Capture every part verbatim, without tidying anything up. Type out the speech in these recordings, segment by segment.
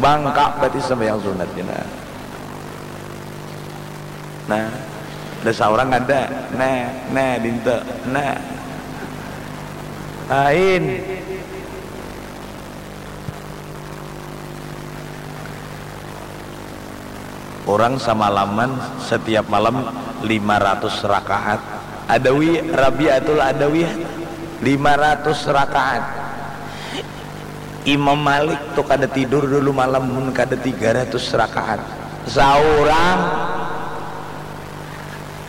Bangka berarti sembahyang sunatnya. Nah, nah, ada seorang ada. Nah, nah, dinta. Nah. Lain. Orang semalaman setiap malam lima ratus rakaat. Adawi, Rabiatul Adawiyah, lima ratus rakaat. Imam Malik tu kada tidur dulu malam mun kada tiga ratus rakaat. Saurang.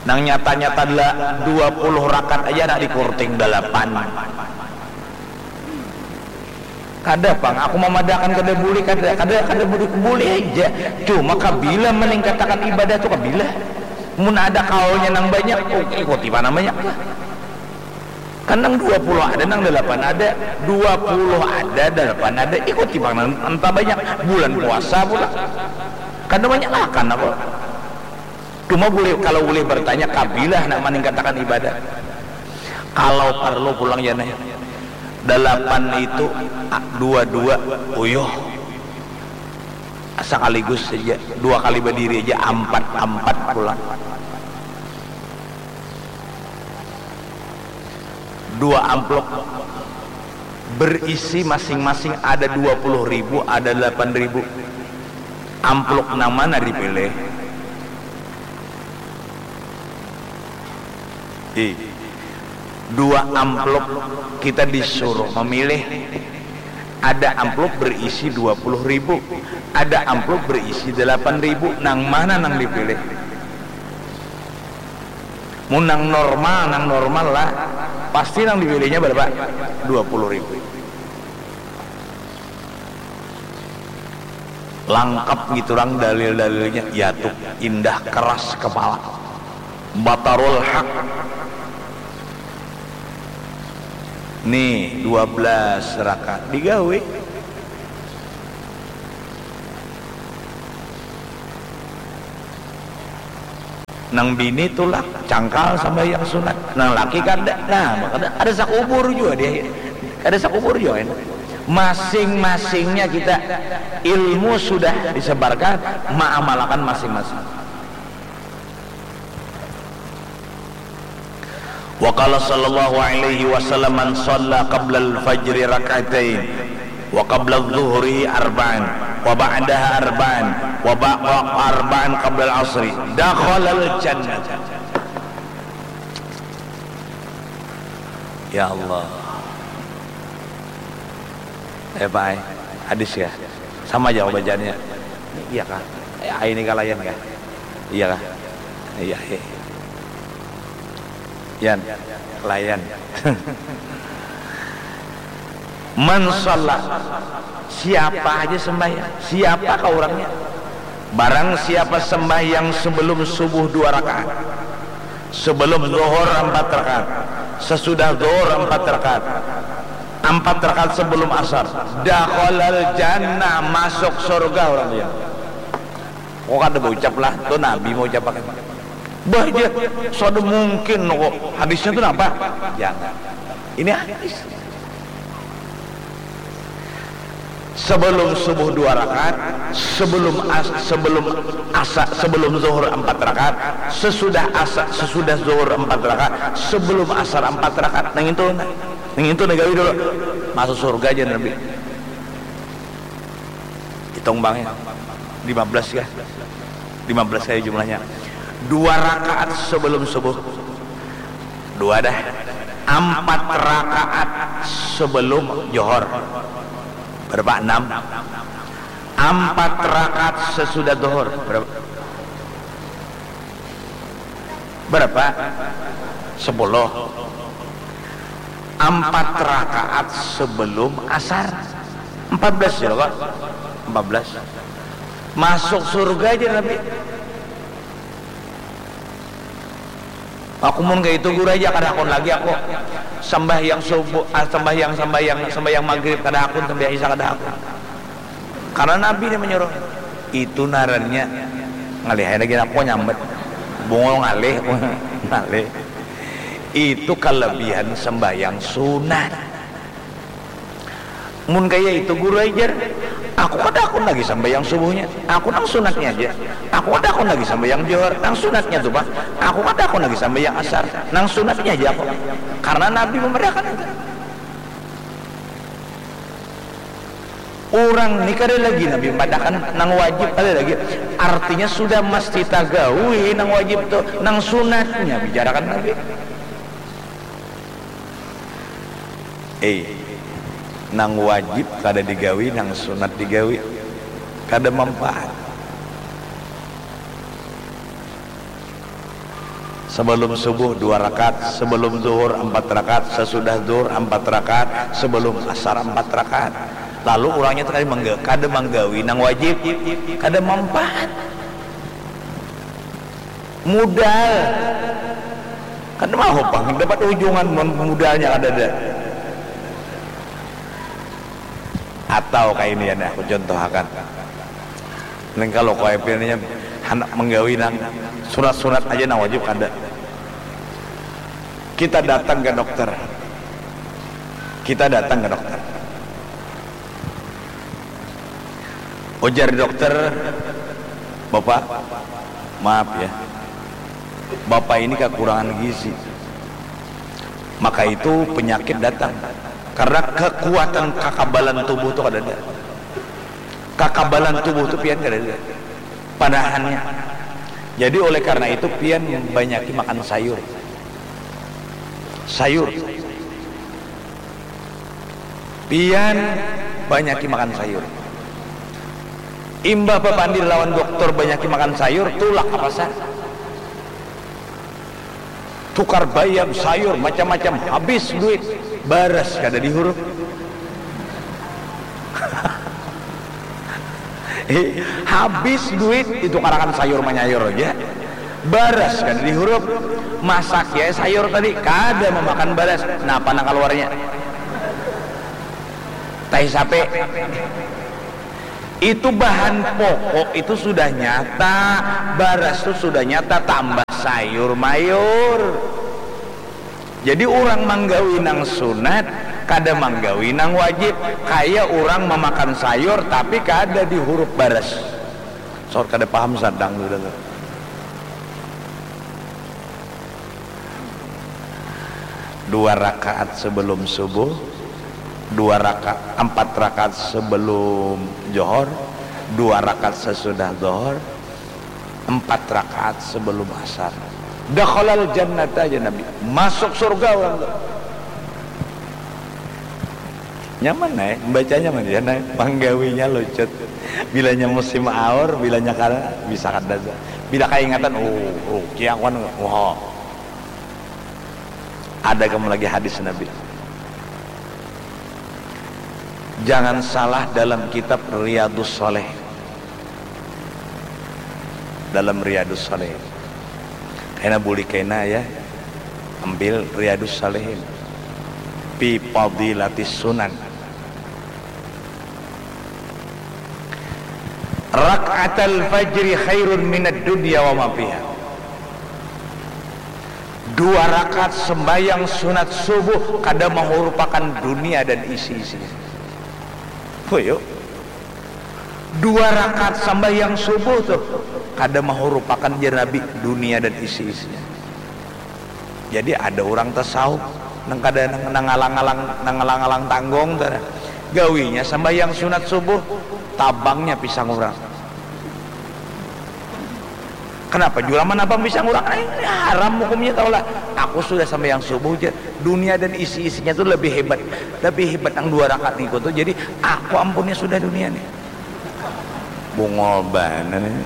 Nang nyata-nyata adalah dua puluh rakaat aja nak dikurting dalapan. Kada pang, aku mamadakan kada bulih, kada, kada, kada bulih, bulih aja. Cuma kabila maningkatakan ibadah tu kabila. Mun ada kaulnya nang banyak, oh, ikuti mana banyak lah. Kan nang dua puluh ada, nang dalapan ada, dua puluh ada, dalapan ada, ikuti pang nang entah banyak. Bulan puasa pula. Kada banyak makan aku. Cuma boleh, kalau boleh bertanya, kabilah nak maningkatakan ibadah. Kalau parlu pulang ya nih. Dalapan itu, a, dua-dua, uyuh. Sekaligus saja, dua kali berdiri aja, ampat-ampat pulang. Dua amplop berisi masing-masing ada dua puluh ribu, ada delapan ribu. Amplop nang mana dipilih? Ih, dua amplop kita disuruh memilih. Ada amplop berisi dua puluh ribu, ada amplop berisi delapan ribu. Nang mana nang dipilih? Mun nang normal, nang normal lah, pasti nang dipilihnya berapa? Dua puluh ribu. Langkap gitu orang dalil-dalilnya, ya tuh, indah, keras kepala. Batarul haq. Nih, dua belas rakaat digawe. Nang bini tulak, cangkal sambahyang sunat. Nang laki kada. Nah, makanya ada sakubur jua dia. Ada sakubur jua ini. Masing-masingnya kita, ilmu sudah disebarkan, maamalakan masing-masing. Wa qala sallallahu alaihi wasallam, "Man shalla qablal fajri rak'atain, wa qabladz zuhri arba'an, wa ba'daha arba'an, wa ba-, wa arba'an qablal asri, dakhalal jannah." Ya Allah. Eh, Pak, eh. Hadis ya. Sama aja bacaannya. Iya kah? Eh, ini kalayan kah? Iya kah? Iya, iya. Yan, layan. Man shalla, siapa aja sembahyang, siapa kah orangnya? Barang siapa sembahyang sebelum subuh dua rakaat, sebelum zuhur empat rakaat, sesudah zuhur empat rakaat, empat rakaat sebelum asar, dakhalal jannah, masuk surga orang dia. Kok kada baucap lah, tu Nabi maucapakan. Bah, ja, sada mungkin kok. Hadisnya tu napa? Jangan. Ini hadis. Sebelum subuh dua rakaat, sebelum as-, sebelum asa, sebelum zuhur empat rakaat, sesudah asa, sesudah zuhur empat rakaat, sebelum asar empat rakaat. Nang itu, nah. Nang itu nah gawi dulu. Masuk surga aja Nabi. Hitung bang ya. Lima belas ya. Lima belas kali jumlahnya. Dua rakaat sebelum subuh. Dua dah. Empat rakaat sebelum johor. Berapa? Enam. Empat rakaat sesudah johor. Berapa? Berapa? Sepuluh. Empat rakaat sebelum asar. Empat belas ya, Pak? Empat belas. Masuk surga aja Nabi. Aku mun kayak itu guru aja kada akun lagi aku. Sembahyang subuh, ah, sembahyang, sembahyang, sembahyang maghrib kada akun, sembahyang isya kada akun. Karena Nabi ini menyuruh. Itu narannya ngalih aja lagi aku nyambat. Bungul ngalih, ngalih. Itu kelebihan sembahyang sunat. Mun kaya itu guru ajar, Aku kada akun lagi sambayang subuhnya, aku nang sunatnya aja. Aku kada akun lagi sambayang johor, nang sunatnya tu pang. Aku kada akun lagi sambayang asar, nang sunatnya aja aku. Karena Nabi memadahakan itu. Urang ni kada lagi Nabi memadahakan nang wajib, kada lagi. Artinya sudah mesti tagawi nang wajib tu, nang sunatnya bicarakan Nabi. Eh, nang wajib kada digawi, nang sunat digawi. Kada manfaat. Sebelum subuh dua rakaat, sebelum zuhur empat rakaat, sesudah zuhur empat rakaat, sebelum asar empat rakaat. Lalu urangnya tu kada mangga-, kada manggawi nang wajib, kada manfaat. Mudal. Kada mau pang dapat ujungan mun mudalnya kadada. Atau kaya ini ya, nah, aku contohakan. Nang kalau kaya pian nya handak manggawi nang sunat-sunat aja, nang wajib kada. Kita datang ke dokter. Kita datang ke dokter. Ujar dokter, "Bapak, maaf ya, Bapak ini kekurangan gizi. Maka itu penyakit datang. Karena kekuatan kakabalan tubuh tu kadada. Kakabalan tubuh tu pian kadada. Panahannya. Jadi oleh karena itu pian banyaki makan sayur. Sayur. Pian banyaki makan sayur." Imbah bapandir lawan dokter banyaki makan sayur, tulak ka pasar. Tukar bayam, sayur, macam-macam, habis duit. Baras kada dihurup. Eh, habis duit, ditukarakan sayur manyayur aja. Baras kada dihurup. Masak ya sayur tadi, kada mamakan baras. Napa nang kaluarnya? Tahi sape. Itu bahan pokok itu sudah nyata, baras tu sudah nyata, tambah sayur mayur. Jadi urang manggawi nang sunat, kada manggawi nang wajib. Kaya urang mamakan sayur tapi kada dihurup baras. Saur kada paham sadang sudah tu. Dua rakaat sebelum subuh, dua raka-, empat rakaat sebelum johor, dua rakaat sesudah johor, empat rakaat sebelum asar. Dakhalal jannata, jar Nabi. Masuk surga urang tu. Nyaman ai, membacanya mah, ya, nah, manggawinya lucut. Bilanya musim aur, bilanya kada, bisa kada. Bila kaingatan, oh, rugi aku kan, wah. Ada kamu lagi hadis Nabi. Jangan salah dalam kitab Riyadus Shalih. Dalam Riyadus Shalih. Kena buli kena ya. Ambil Riyadus Salihin. Fi Fadilatis Sunan. Rak'atal fajri khairun minad dunya wa ma fiha. Dua rakaat sembahyang sunat subuh kada mahurupakan dunia dan isi-isinya. Puyu. Dua rakaat sambahyang subuh tuh kada mahurupakan jar Nabi dunia dan isi-isinya. Jadi ada orang tasawuf nang kada nang, nang alang-alang nang alang-alang tanggung tuh. Gawinya sambahyang sunat subuh, tabangnya pisang urang. Kenapa jua manabang pisang urang? Ai, haram hukumnya tahu lah. Aku sudah sambahyang subuh jar. Dunia dan isi-isinya tuh lebih hebat. Lebih hebat nang dua rakaat niku tuh. Jadi aku ampunnya sudah dunia nih. Bungol banar ini.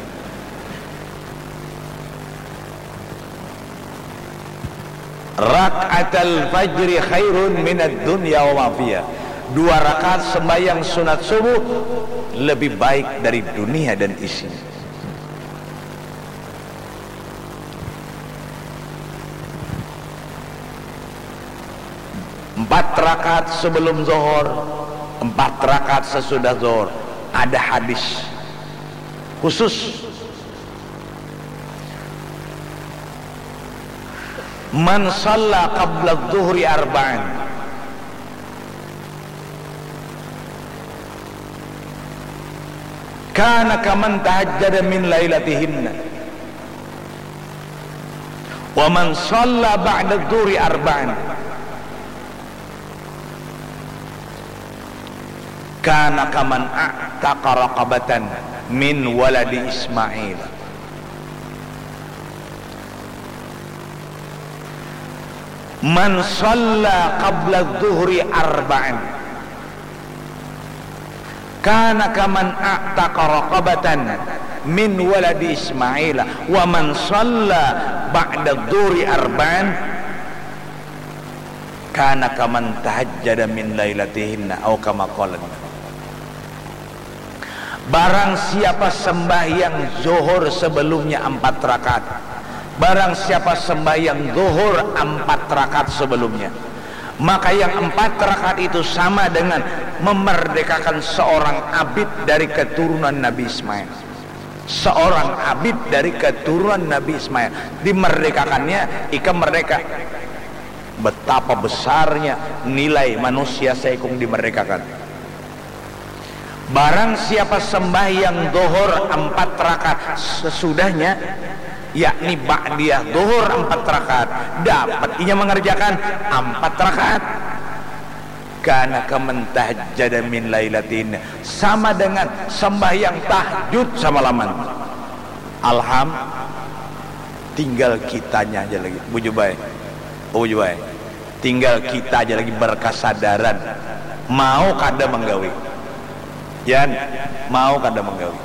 Rak'atal fajri khairun minad dunya wa ma fiha. Dua rakaat sembahyang sunat subuh lebih baik dari dunia dan isinya. Empat rakaat sebelum zuhur, empat rakaat sesudah zuhur. Ada hadis khusus. Man shalla qabla zuhri arba'an. Kana kaman tahajjada min lailatihinna. Wa man shalla ba'da dhuhri arba'an. Kana kaman a'taqa raqabatan min waladi Ismail. Man shalla qabla dhuhri arba'an. Kana kaman a'taqa raqabatan min waladi Ismail, wa man shalla ba'da dhuhri arba'an, kana kaman tahajjada min lailatihinna, au kama qala. Barang siapa sembahyang zuhur sebelumnya empat rakaat, barang siapa sembahyang zuhur empat rakaat sebelumnya, maka yang empat rakaat itu sama dengan memerdekakan seorang abid dari keturunan Nabi Ismail. Seorang abid dari keturunan Nabi Ismail. Dimerdekakannya, ikam merdeka. Betapa besarnya nilai manusia saikung dimerdekakan. Barang siapa sembahyang zuhur empat rakaat sesudahnya, yakni ba'diyah zuhur empat rakaat, dapat inya mengerjakan empat rakaat. Kana kaman tahajjada min lailatin, sama dengan sembahyang tahajud samalaman. Alham, tinggal kitanya aja lagi. Bujubai. Bujubai. Tinggal kita aja lagi berkasadaran. Mau kada menggawi. Yan, mau kada menggawi.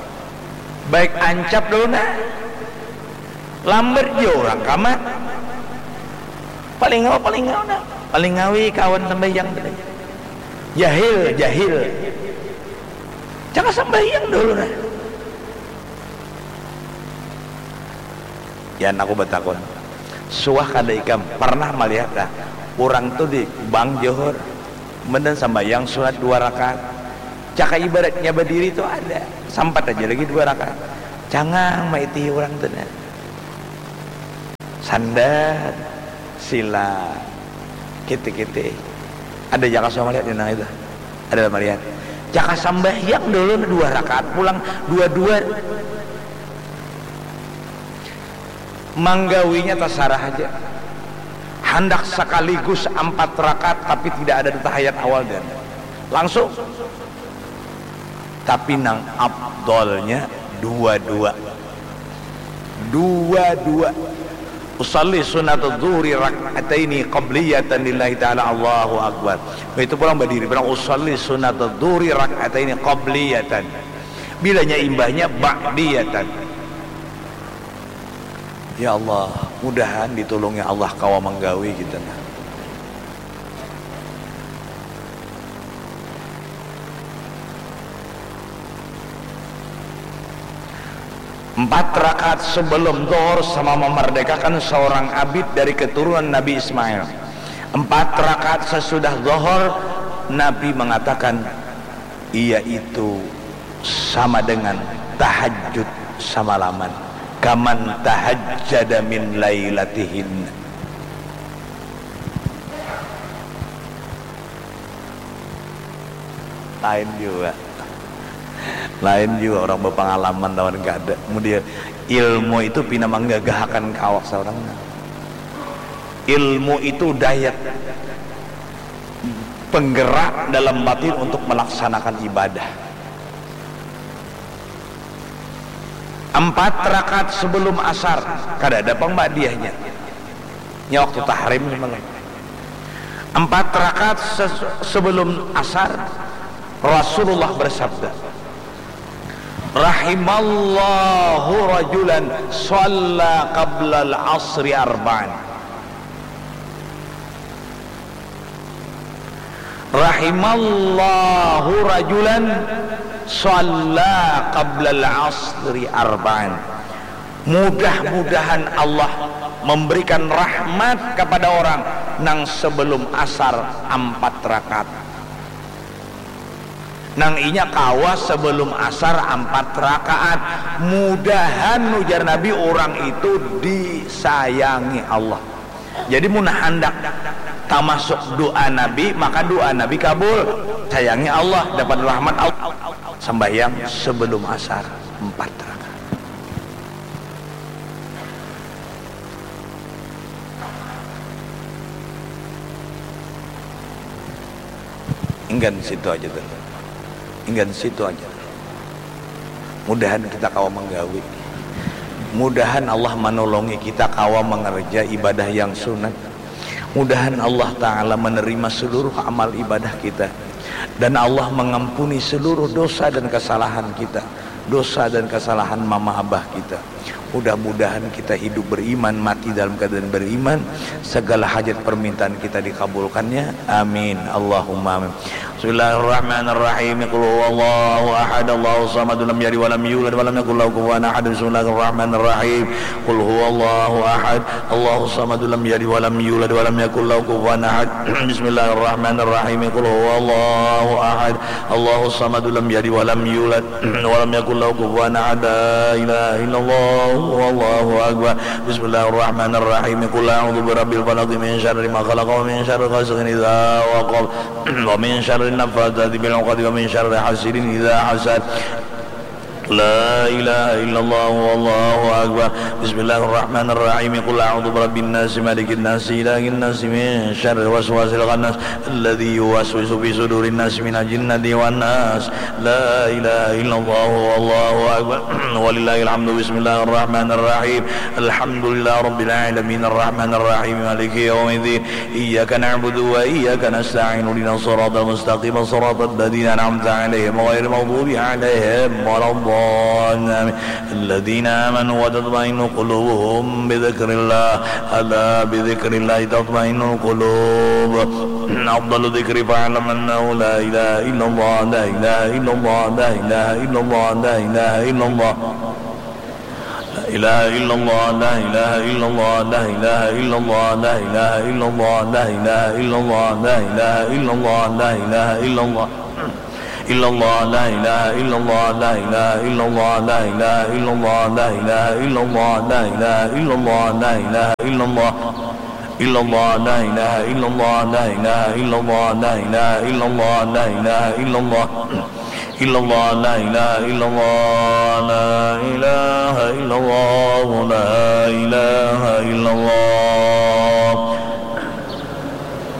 Baik ancap dulu nah. Lambat jua orang kamat. Paling ngau, paling ngau nah. Paling ngawi kawan sambahyang tadi. Jahil, jahil. Jangan sambahyang dulu nah. Yan, aku batakun, suah kada ikam pernah malihat kah urang tu di bang Johor menden sambayang sunat dua rakaat? Caka ibaratnya badiri tu ada, sampat aja lagi dua rakaat. Cangang maitihi urang tu nah. Sandat, sila, kiti-kiti. Ada jaka suah malihat nang itu? Ada malihat. Jaka sambahyang dulu dua rakaat pulang dua-dua. Manggawinya tasarah haja. Handak sakaligus ampat rakaat tapi tidak ada tahiyat awal dan langsung. Tapi nang afdolnya dua-dua. Dua-dua. Usalli sunnatul zuhri rak'ataini qabliyatan lillahi ta'ala, Allahu Akbar. Itu pulang badiri, bilang, "Usalli sunnatul zuhri rak'ataini qabliyatan." Bilanya imbahnya ba'diyatan. Ya Allah, mudahan ditulungi Allah kawa manggawi kita nah. Empat rakaat sebelum Dhuhr sama memerdekakan seorang abid dari keturunan Nabi Ismail. Empat rakaat sesudah Dhuhr, Nabi mengatakan, yaitu sama dengan tahajud samalaman. Kaman tahajjada min lailatihin. Lain jua. Lain jua orang bapangalaman lawan kada. Mudian ilmu itu pina manggagahakan ka awak saurang. Ilmu itu daya penggerak dalam batin untuk melaksanakan ibadah. Empat rakaat sebelum asar, kada ada pang ba'diyahnya. Nya waktu tahrim semalam. Empat rakaat ses-, sebelum asar, Rasulullah bersabda, "Rahimallahu rajulan shalla qablal asri arba'an." "Rahimallahu rajulan shalla qablal asri arba'an." Mudah-mudahan Allah memberikan rahmat kepada orang nang sebelum asar ampat rakaat. Nang inya kawa sebelum asar ampat rakaat. Mudahan, ujar Nabi, orang itu disayangi Allah. Jadi mun handak tamasuk doa Nabi, maka doa Nabi kabul. Sayangi Allah, dapat rahmat Allah. Sambahyang sebelum asar empat rakaat. Inggan situ aja dulu. Inggan situ aja dulu. Mudahan kita kawa menggawi. Mudahan Allah menolongi kita kawa mengerja ibadah yang sunat. Mudahan Allah Ta'ala menerima seluruh amal ibadah kita. Dan Allah mengampuni seluruh dosa dan kesalahan kita. Dosa dan kesalahan mama abah kita. Mudah-mudahan kita hidup beriman, mati dalam keadaan beriman. Segala hajat permintaan kita dikabulkannya. Amin. Allahumma amin. Bismillahirrahmanirrahim. Qul huwallahu ahad, Allahu samad, lam yalid walam yulad walam yakul lahu kufuwan ahad. Bismillahirrahmanirrahim. Qul huwallahu ahad, Allahu samad, lam yalid walam yulad walam yakul lahu kufuwan ahad. Bismillahirrahmanirrahim. Qul huwallahu ahad, Allahu samad, lam yalid walam yulad walam yakul lahu kufuwan ahad. La ilaha illallah, wallahu akbar. Bismillahirrahmanirrahim. Qul a'udzu birabbil falaq, min syarri ma khalaq, wa min syarri ghasiqin idza waqab, wa min syarri naffatsati fil 'uqad, wa min syarri hasidin idza hasad. La ilaha illallah, wallahu akbar. Bismillahirrahmanirrahim. Qul a'udzu birabbin nas, malikin nas, ilahin nas, min syarril waswasil khannas, alladzi yuwaswisu fi sudurin nas, minal jinnati wan nas. La ilaha illallah, wallahu akbar. Walillahil hamdu. Bismillahirrahmanirrahim. Alhamdulillahi rabbil alamin, arrahmanirrahim, maliki yaumiddin. Iyyaka na'budu wa iyyaka nasta'in. Ihdinas siratal mustaqim, siratal ladzina an'amta 'alaihim, ghairil maghdubi 'alaihim waladdallin. Amin. Alladzina amanu wa tatma'innu qulubuhum bidzikrillah. Ala bidzikrillahi tatma'innul qulub. Afdalu dzikri fa'lam annahu la ilaha illallah, la ilaha illallah, la ilaha illallah, la ilaha illallah. La ilaha illallah, la ilaha illallah, la ilaha illallah, la ilaha illallah, la ilaha illallah, la ilaha illallah, la ilaha illallah. Illallah, la ilaha illallah, la ilaha illallah, la ilaha illallah, la ilaha illallah, la ilaha illallah, la ilaha illallah. Illallah, la ilaha illallah, la ilaha illallah, la ilaha illallah, la ilaha illallah. Illallah, la ilaha illallah, la ilaha illallah, la ilaha illallah.